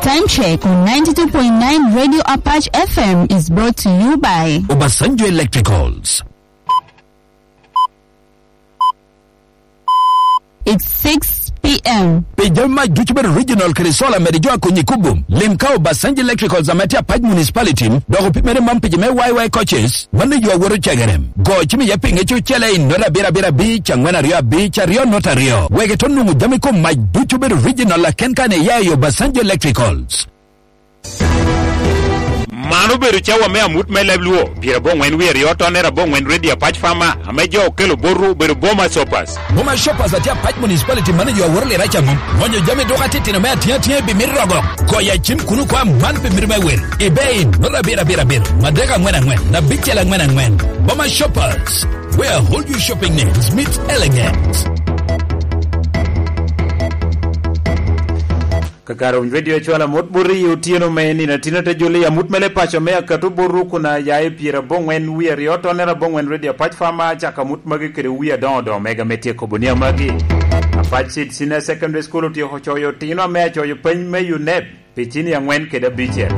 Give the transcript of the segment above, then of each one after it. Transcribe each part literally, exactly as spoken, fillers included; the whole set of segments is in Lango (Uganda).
Time check on ninety-two point nine Radio Apache F M is brought to you by Obasanjo Electricals. It's six p.m. Pi jami mac ducu bedo regional kede solar mede jo a konyi kubo, lim ka Obasanjo Electricals ame tye Apac Municipality, dok opimere man pi jo me Y Y coaches, mano yo a woto cegere. Go cim iye pinge cucele i nota abiro abiro abic, angwen aryo abic, aryo nota aryo. Wek ito nwoŋo jami kom mac ducu bedo regional aken kan iya i Obasanjo Electricals. Man obedo cawa me amut me leb Luo, pyerabongwen wie aryo tonere abongwen Redio Apac Fama, ame jo okelo botwu obedo Boma Shoppers. Boma Shoppers atye Apac Municipality manager a woro lira caŋo. Ŋonyo jami dok atitino me atiŋa atiŋa i bimit rogo. Goyo acim kuno kwa man pi mito me wel. Ibe in, nota abiro abiro abiro, adek angwen angwen, abicel angwen angwen. Boma Shoppers, where all your shopping needs meet elegance. Kakare winy redio cwalo amut bot i otyeno me nino atino te joli amut mele paco me akato bot rukuna ya i pyera bongwen wi aryo tonera bongwen redio apac fama caka amut magi kede wi adoŋo doŋo mega me tyeko bunia magi. Apac Seed Senior Secondary School otyeko coyo otino ame acoyo peny me unep pi cini angwen kede abicel.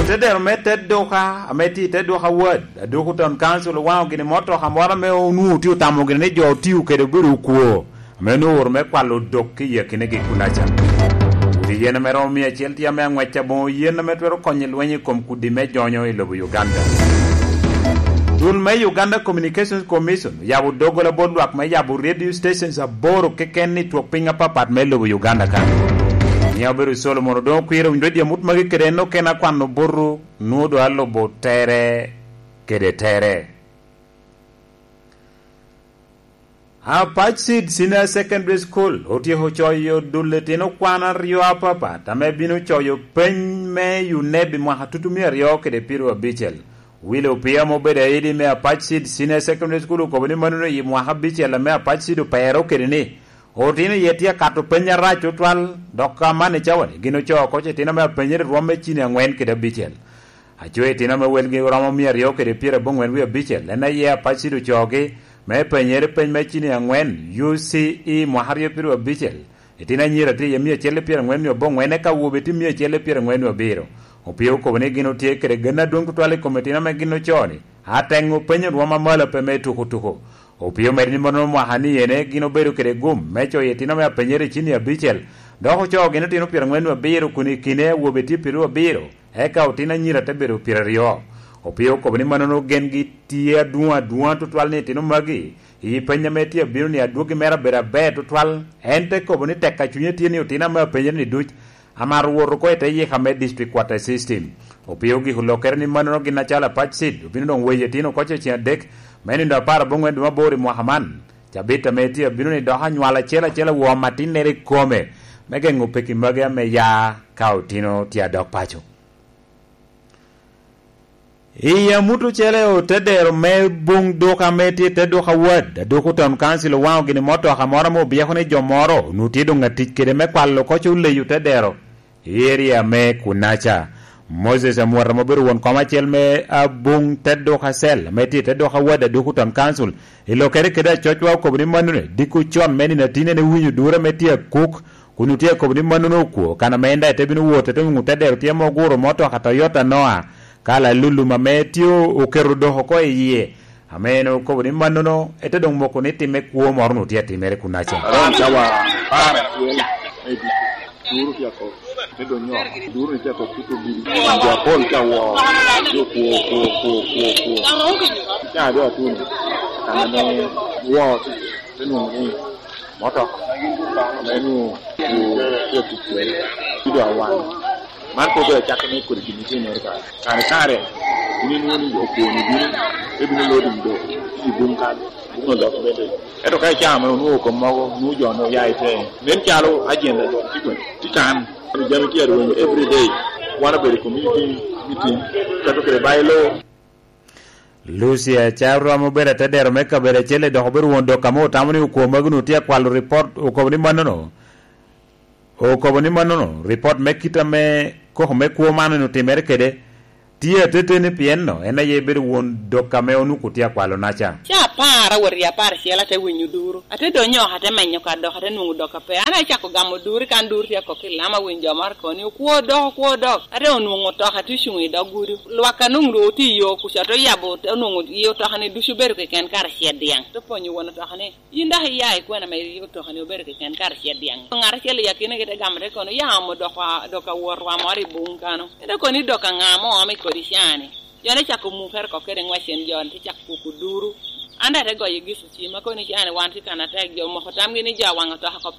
Otedero me te duka ame tye i te duka wad aduku ton kancil owaŋo gini motoka moro ame onwoŋo tye otamo gini ni jo otiyo kede obedo okwo ame onwoŋo ooro me kwalo odok ki i akinegi kunaca. Kudi yen ame romo mia acel tye ame aŋwec aboŋo yen ame twero konyo i lweny i kom kudi me jonyo i lobo Uganda. Dul me Uganda Communications Commission oyabo doggola bot lwak me yabo radio stations aboro keken i twok piny apapat me lobo Uganda kan. Ni obedo Solomon Odongo Kwir owinyo radio mut magi kede en okene akwano botwu nwoŋo doŋ alubo tere kede tere. Apac Seed Senior Secondary School otyeko coyo dul etino kwan aryo apapat ame bino coyo peny me UNEB i mwaka tutumia aryo kede pyeraryo abicel. Willy Opio ame obedo aidi me Apac Seed Senior Secondary School okobo ni mano i mwaka abicel ame Apac Seed opero kede ni otino iye tye akato peny arac tutwal dok ka man i cawani gin ocoo oko citino me apenyere rwom me cini angwen kede abicel. Aco itino ame welgi romo mia aryo kede pyerabongwen wie abicel en aye Apac Seed ocoogi me penyere peny me cini angwen U C E mwaka aryo pyeraryo abicel. Itino anyira tye iye mia acel i pyerangwen wie abongwen eka awobe tye mia acel i pyerangwen wie abiro. Opio okobo ni gin otye kede gen adwoŋ tutwal i kom itino ame gin ocoo-ni. Ateŋ openyo rwom amalo pe me tuko tuko. Opio omedde ni mono mwaka ni ene gin obedo kede gum me coyo itino ame apenyere i cini abicel dok ocoo gin otino pyerangwen wie abiro kun i kine awobe tye pyeraryo abiro. Eka otino anyira te bedo pyeraryo. Opio okobo ni mannono gengi tye adwoŋ adwoŋa tutwal ni itino magi i peny ame tye abino ni adwogi mere abedo aber tutwal. En te kobo ni tek a cunye tye ni otino ame apenyere ni duc amaro wot oko i te yika me district quarter system. Opio ogiko lokere ni mannono gin acalo Apac Seed obino doŋ weyo itino oko cecen adek me nindo apar aboŋwen dwe me aboro i mwaka man. Cabit ame tye abino ni dok anywal acel acel awo matinnere i kome me geŋo peki magi ame ya ka otino tye adok paco. I amut ocele otedero me bung duka ame tye te duka wad aduku town council owaŋo gini motoka moro ame obyeko ni jo moro onwoŋo tye doŋ atic kede me kwalo koc oleyo tedero i eria me kunaca. Moses amwot ame obedo won kom acel me abung te duka cel ame tye te duka wad aduku town council i lokere kede acocwa okobo ni manone diko con me nino atine ne winyo dure me tye akuk kun otye akobo ni mannono okwo kan ame en daŋ ete bino wot ete nwoŋo te dero tye ame oguro motoka Toyota Noah ka lalulum ame tye oketo dok oko i yie ame en okobo ni mannono ete doŋ moko ni timme kwo moro onwoŋo tye atimere kunaca. Aroŋo cawa apar acel me ducu duru tye ako te doŋ nyo duru ni tye ako kuto bidi jo apol tye awo jo kwo kwo kwo kwo kwo. Ca dwe atun kan ame wo te nwoŋo ni motoka ame nwoŋo tye tic kwede ci doŋ awaŋ. Man pe obedo acakke me kodi gin itimere kare kare kare in inwoŋo ni okwoni bino ebino lodi do i bung kan bung olok bende. Ento ka icaa mere onwoŋo kom mogo nwoŋo jo onwoŋo oya i te nen calo ajenda jo tye kwene tye kan jami tye arwenyo every day. Wan obedo i community meeting kato kede bailo. Lucia Carom obedo atedero me kabedo acel dok obedo won dok ame otamo ni okwo magi onwoŋo tye akwalo ripot okobo ni mannono okobo ni mannono ripot me kit ame koko me kwo man onwoŋo timere kede tye ateteni pien no en aye bedo won dok ame onwoŋo tye akwalo naca. Ca Apar awot i apar acel, ate winyo duru. Ate donyo oko, ate menyo ka dok, ate nwoŋo dok ape. An acako gamo duru, kan duru tye akok i lama, awinyo jo moro kono ni, "Okwo dok, okwo dok." Ate onwoŋo otoka tye ocuŋ i dog gudo. Lwak a nwoŋo ru tye i yo kuca, te oyabo, te onwoŋo i otoka-ni ducu obedo keken karacel dyaŋ. Te penyo won otoka ni, "Yin dok iya i kwena ame i otoka-ni obedo keken karacel dyaŋ?" Ŋat acel i akina gi te gamo te kono, "Ya omo dok a, dok awot wa moro i buŋ kano." Ento kono ni, "Dok aŋa ame oome kodi ca-ni?" Jo-ni cako mukere oko kede ŋwecen, jo-ni te cako kuko duru. An daŋ ate goyo Gisu cim, akobo ni, "Ca-ni wan tye kan atek." Jo omoko tamgi ni jo awaŋo otoka oko.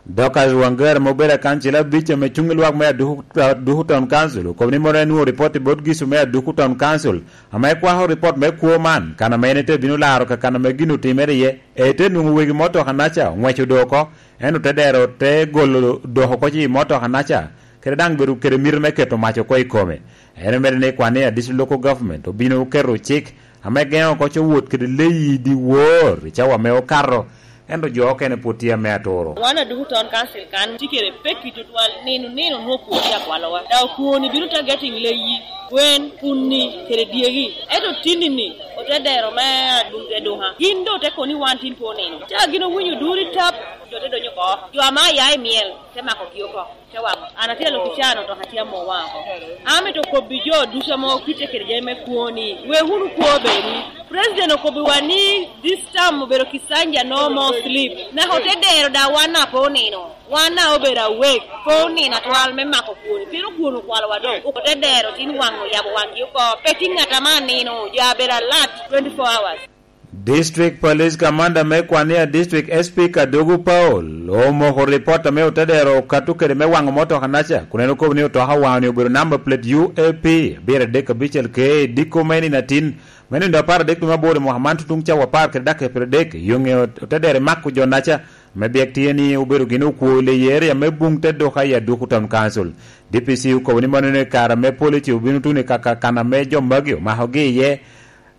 Dorcas Wangari, ame obedo akancila abic ame cuŋ i lwak me Aduku, Aduku Town Council, okobo ni mono en nwoŋo ripot i bot Gisu me Aduku Town Council, ame kwako ripot me kwo man, kan ame en ite bino laro ka kan ame gin otimere iye. Ete nwoŋo wegi motoka-naca oŋweco do oko, ento otedero te golo dok oko i motoka-naca, kede daŋ bedo kede mito me keto mac oko i kome. En omedo ni kwan ni a District Local Government obino keto cik ame geŋo oko co wot kede leyi dyewor i cawa ame okato, ento jo okene pwod tye ame aturo. Wan Aduku Town Council kan tye kede pekki tutwal, nino nino nwoŋo kwoni akwalowa. Daŋ okwoni bino targeting leyi, gwen, puni, kede dyegi. Ento tinni-ni, otedero me adunke duka. Gin doŋ te kono ni wan tin pe onino. Ca gin owinyo duri tap, jo te donyo oko. Jo ame aya i myel, te makogi oko. Te waŋo. An atye alok i can, otoka tye amo waŋ oko. Amito kobbi jo ducu ame okite kede jami me kwoni, wek wunu kwo bedwu. President okobbiwa ni this term obedo Kisanja no more sleep. Naka otedero daŋ wan na pe onino. Wan na obedo awek, pe onino atwal me mako kwoni. Pien okwoni okwalowa doŋ. Otedero tin waŋ oyabo waŋgi oko. Pe tye ŋat ame anino, jo abedo alert twenty-four hours. District Police Commander me Kwania District, S P Kadogo Paul, omoko ripot ame otedero okato kede me waŋo motoka-naca, kun en okobo ni otoka waŋo-ni obedo number plate U A P abiro adek abicel K, diko me nino atin, me nino apar adek dwe me aboro i mwaka man, tutuŋ cawa apar kede dakika pyeradek, yo ŋe otedero mako jo-naca, me byek tye ni obedo gin okwo i leyi area me buŋ te duka i Aduku Town Council. D P C okobo ni mano ni kare ame police obino tuno i kaka kan ame jo magi omakogi iye,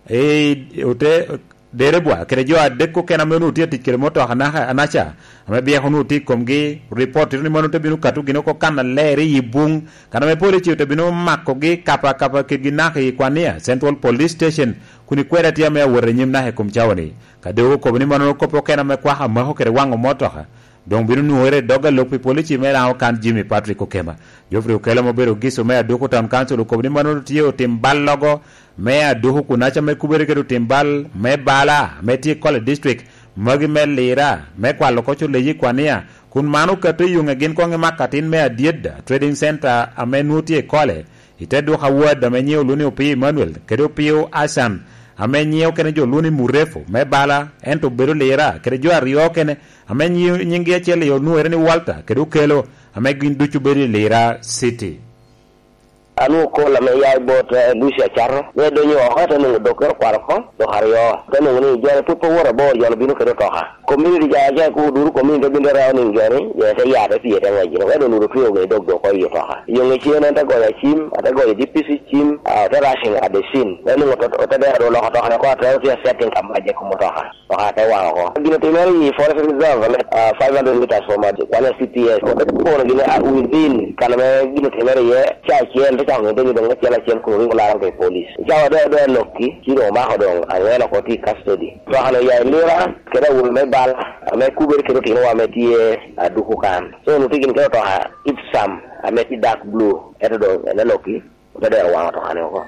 i ote, derebwa kede jo adek okene ame onwoŋo tye atic kede motoka naka-, anaca, ame byeko onwoŋo tye i komgi, ripot tito ni mano te bino kato gin oko kan aler i buŋ, kan ame police ote bino makogi kapa kapa kedgi naka i Kwania Central Police Station, kun ikwede tye ame awot anyim naka i kom cawa-ni. Kadogo okobo ni mano kop okene ame kwako amako kede waŋo motoka, doŋ bino nwoŋere i dog alok pi polici me Laŋo kan Jimmy Patrick Okema. Geoffrey Okello, ma obedo Giso me Aduku Town Council, okobo ni mano tye otim bal logo me Aduku kun aca me kubere kede otim bal me bala ame tye i Kole District, magi me Lira, me kwalo koc oleyi i Kwania, kun man okato i yuŋe gin koŋ i makatin me Adyedda Trading Center ame nwoŋo tye i Kole, i te duka wad ame nyiŋe olwoŋo ni Opiyo Emmanuel, kede Opiyo Asan, ame nyiŋe okene jo olwoŋo ni Murefo me bala, ento obedo Lira, kede jo aryo okene, ame nyi-, nyiŋgi acel i onwoŋere ni Walter, kede Okello, ame gin ducu bedo i Lira City. Anwoŋo kol ame ya i bot, eh, Lucia Cato, ni edonyo oko, ate nwoŋo dokke okwalo oko, dok aryo. Ate nwoŋo ni jo-ni pwod pe owoto abor, jo-ni obino kede otoka. Community ja, ja ku duru community te bino te reo niŋ jo-ni, jo te ya te pye te ŋwec gin, wek doŋ lwod otweo gin i dog dok oko i otoka. Yo ŋe cen en te goyo acim, ate goyo D P C cim, ah, ote rushing at the scene. Wek nwoŋo ote, ote dero doŋ oloko otoka-ni oko, ate otye setting ka mac i kom otoka. Otoka te waŋ oko. Gin otimere i Forest Reserve, ah, five hundred meters from, ah, Kwania C P S. Ote kono gin, ah, within kan ame gin otimere iye, ca acel, te cako ŋete ni doŋ acel acel kun oringo laro ka i police. Cawa doŋ, doŋ alokki, ci doŋ omako doŋ aŋwen oko tye i custody. Otoka-ni oya i Lira, kede awobi me bal, ame kubere kede otinowa ame tye Aduku kan. So, onwoŋo tye gin kede otoka Ipsum ame tye dark blue, ento doŋ en alokki, ote dero waŋ otoka-ni oko.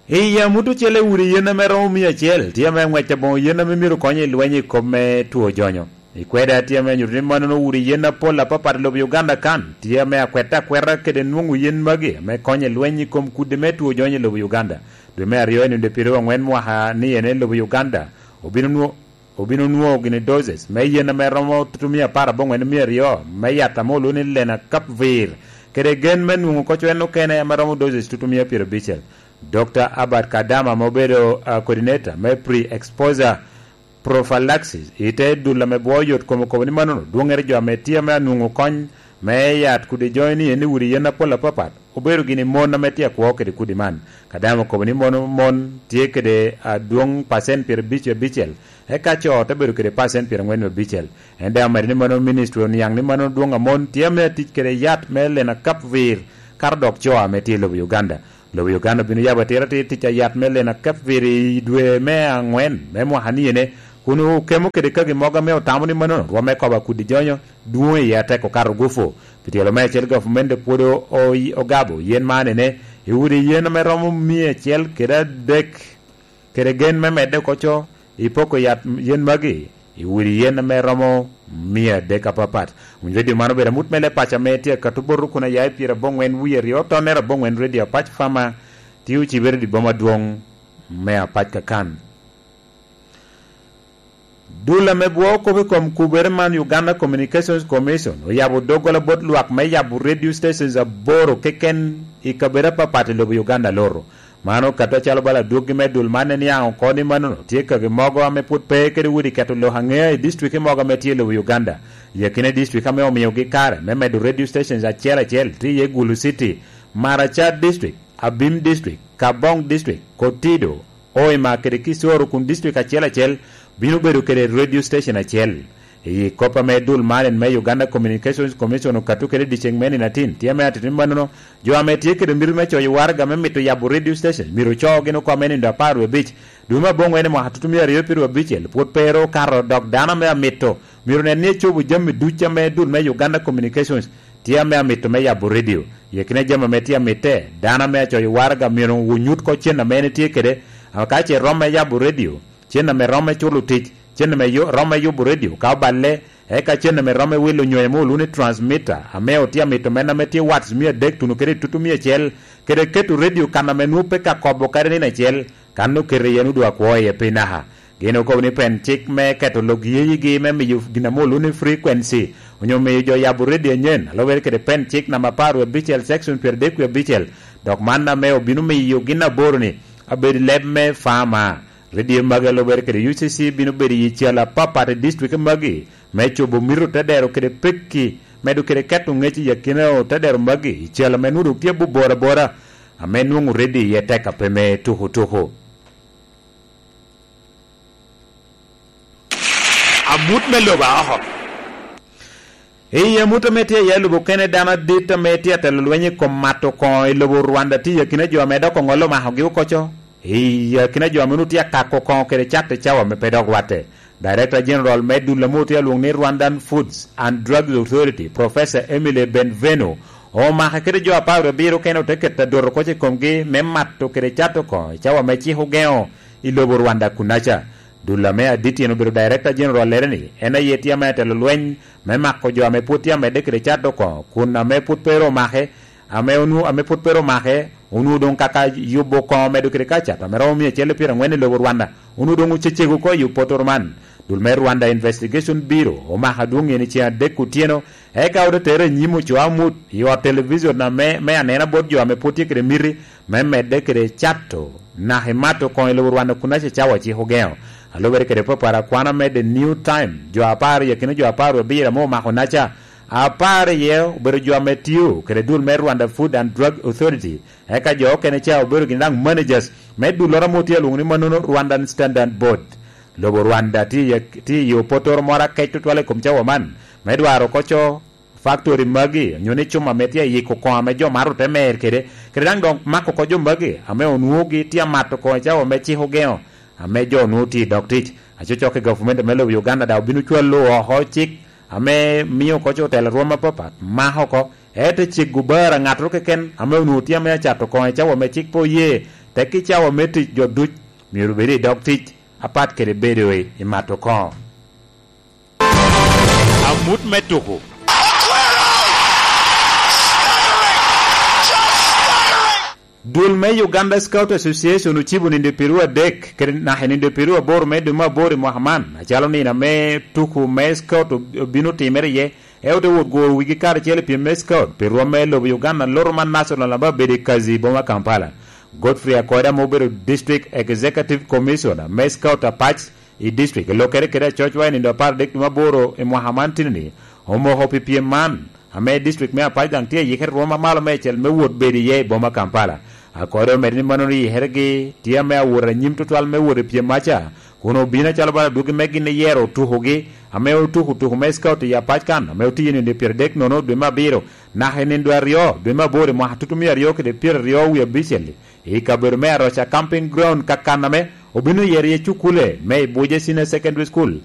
I yam ute ocele udi yen ame romo mia acel tye ame aŋwec aboŋo yen ame myero kony i lweny i kop me two jonyo. I kwede atye ame nyuto ni mannono udi yen apol apapat i lobo Uganda kan tye ame akwete akweta kede nwoŋo yen magi ame konyo i lweny i kom kudi me two jonyo i lobo Uganda. Dwe me aryo i nino pyeraryo angwen mwaka ni ene lobo Uganda obino nwo-, obino nwoŋo gini doses me yen ame romo tutumia apar aboŋwen mia aryo me yat ame olwoŋo ni Lenacapavir, kede gen me nwoŋo koc en okene ame romo doses tutumia pyerabicel. Dokta Albert Kadama, ame obedo, ah, coordinator me pre-exposure prophylaxis i te dul ame gwo yot kom, okobo ni mannono dwoŋŋere jo ame tye ame anwoŋo kony me yat kudi joŋi ni en i udi yen apol apapat, obedo gini mon ame tye akwo kede kudi man. Kadama okobo ni mon, mon tye kede adwoŋ pacent pyerabicel, eka co te bedo kede pacent pyerangwen abicel. En daŋ omedo ni mano ministry oniaŋ ni mano dwoŋ a mon tye ame atic kede yat me Lenacapavir, kato dok co ame tye i lobo Uganda. Lobo Uganda obino yabo atira atir tic a yat me Lenacapavir i dwe me aŋwen me mwaka ni ene, kun okemo kede kagi mogo ame otamo ni mannono rwomme kobo akudi jonyo dwoŋ iye atek okato gufu. Pi tyelo me acel, gavumenti pwod o-, o-, ogabo yen man ene i udi yen ame romo mia acel kede adek, kede gen me medde oko co i poko yat yen magi i udi yen ame romo mia adek apapat. Winy redio man obedo amut me leb paco ame tye akato bot rukun aya i pyeraboŋwen wie aryo, tonnere aboŋwen, Redio Apac Fama, tye ocibere i dye boma adwoŋ me Apac kakan. Dul ame bwoo kop i kom kubere man, Uganda Communications Commission, oyabo doggola bot lwak me yabo radio stations aboro keken i kabedo apapat i lobo Uganda loro. Man okato acalo bala adwoggi me dul man en niaŋ oko ni mannono tye kagi mogo ame pwod pe kede udi keto lok aŋea i dictwiki mogo ame tye i lobo Uganda. I akina dictwik ame omiogi kare me medo radio stations acel acel tye iye Gulu City, Maracha District, Abim District, Kaabong District, Kotido, Hoima kede Kisoro, kun dictwik acel acel bino bedo kede radio station acel. I kop ame dul man en me Uganda Communications Commission okato kede dyeceŋ me nino atin, tye ame atito ni mannono, jo ame tye kede mito me coyo waraga me mito yabo radio station myero ocoo gin oko ame nindo apar wie abic dwe me aboŋwen i mwaka tutumia aryo pyeraryo abicel, pwod pe ero okato, dok dano ame amito myero nen ni ecobo jami duc ame dul me Uganda Communications tye ame amito me yabo redio. I akina jami ame tye amitte, dano ame acoyo waraga myero onyut oko cen ame en tye kede, ka ce romo me yabo redio, cen ame romo me culo tic, cen ame yo-, romo me yubo redio ka oballe, eka cen ame romo me wilo nyonyo ame olwoŋo ni transmitter, ame otye amito meno ame tye watts mia adek tuno kede i tutu mia acel, kede keto redio kan ame nwoŋo pe ka kobo kadi nino acel, kan oketo iye nwoŋo doŋ akwo iye pe naka. Gin okobo ni pen cik me keto lok yeyigi me miyo gin ame olwoŋo ni frequency, onyo miyo jo yabo redio anyen, a lubere kede pen cik namba apar wie abicel, section pyeradek wie abicel, dok man ame obino miyo gin aboro-ni abed leb me fama. Redio magi a lubere kede U C C bino bedo i calo apapat i dictwik magi, me cobo mito te dero kede pekki, medo kede keto ŋec i akina te dero magi i calo ame nwoŋo doŋ tye abobor abora, ame nwoŋo redio iye tek a pe me tuko tuko. Amut me lobo a oko. I amut ame tye iye lobo kene, dano adit ame tye atelo lweny i kom mato koŋo i lobo Rwanda tye i akina jo ame dok oŋolo makogi oko co, i akina jo ame onwoŋo tye akako koŋo kede cato i cawa ame pe dok rwatte. Director General me dul ame otye alwoŋo ni Rwandan Foods and Drugs Authority, Professor Emily Benvenu, omake kede jo apar wie abiro kene ote keto adoto koc i komgi me mato kede cato koŋo i cawa ame cik ogeŋo i lobo Rwanda kunaca. Dul ame adit en obedo Director General lere ni en aye tye ame atelo lweny me mako jo ame pwod tye amedde kede cato koŋo, kun ame pwod pe ru omake, ame onwo-, ame pwod pe ru omake, onwoŋo doŋ kaka yubo koŋo medo kede ka cato ame romo mia acel i pyeraŋwen i lobo Rwanda, onwoŋo doŋ ocecego oko i opotoro man. Dul me Rwanda Investigation Bureau omako adwoŋ en i ceŋ adek otyeno, eka ote tere i nyim ocoo amut i ot television ame, me anena bot jo ame pwod tye kede miti me medde kede cato naka i mato koŋo i lobo Rwanda kun acacawa cik ogeŋo. A lubere kede papara kwan ame The New Time, jo apar i akina jo apar wie abiro ame omako naca, apar iye obedo jo ame tio kede dul me Rwanda Food and Drug Authority, eka jo okene ca obedo gin daŋ managers me dulloro ame otye alwoŋo ni mannono Rwandan Standard Board. Lobo Rwanda tye i, tye i opotoro moro akec tutwal i kom cawa man, me dwaro oko co faktori magi, onyo ni cuma ame tye ayiko koŋo ame jo mato te mer kede, kede daŋ dok mako oko jo magi ame onwoŋogi tye amato koŋo i cawa ame cik ogeŋo, ame jo onwoŋo tye i dog tic. Acocok i gavumenti me lobo Uganda daŋ obino cwalo oko cik ame mio oko co otelo rwom apapat mako oko, ento cego bara ŋattoro keken ame onwoŋo tye ame acato koŋo i cawa ame cik pe oye, tekki cawa me tic jo duc myero obed i dog tic, apat kede bedo i, i mato koŋo. Amut me tuko. Dul me Uganda Scout Association ocibo nindo pyeraryo adek kede naka nindo pyeraryo aboro me dwe me aboro i mwaka man, acalo nino ame tuko me Scout ob-, obino timere iye, ento te wot guro wigi karacel i pyem me Scout pi rwom me lobo Uganda, loro man National ame abedo i Kazi i boma Kampala. Godfrey Akoda ame obedo District Executive Commissioner me Scout Apac i district, i lokere kede acocwa i nindo apar adek dwe me aboro i mwaka man tini-ni, omoko pi pyem man, ame district me Apac daŋ tye ayikere rwom amalo meicel me wot bedo iye i boma Kampala. Akode omedo ni mannono yikeregi tye ame awot anyim tutwal me wot i pyem maca, kun obino acalo bala adwogi me gin iyero otukogi, ame otuko tuko me Scout i Apac kan, ame otiyo nindo pyeradek nono dwe me abiro, Naka i nindo aryo, dwe me aboro i mwaka tutumia aryo kede pyeraryo wie abicel, i kabedo me Aroca Camping Ground, Kakaname, obino yero iye cukule me Ibuje Senior Secondary School,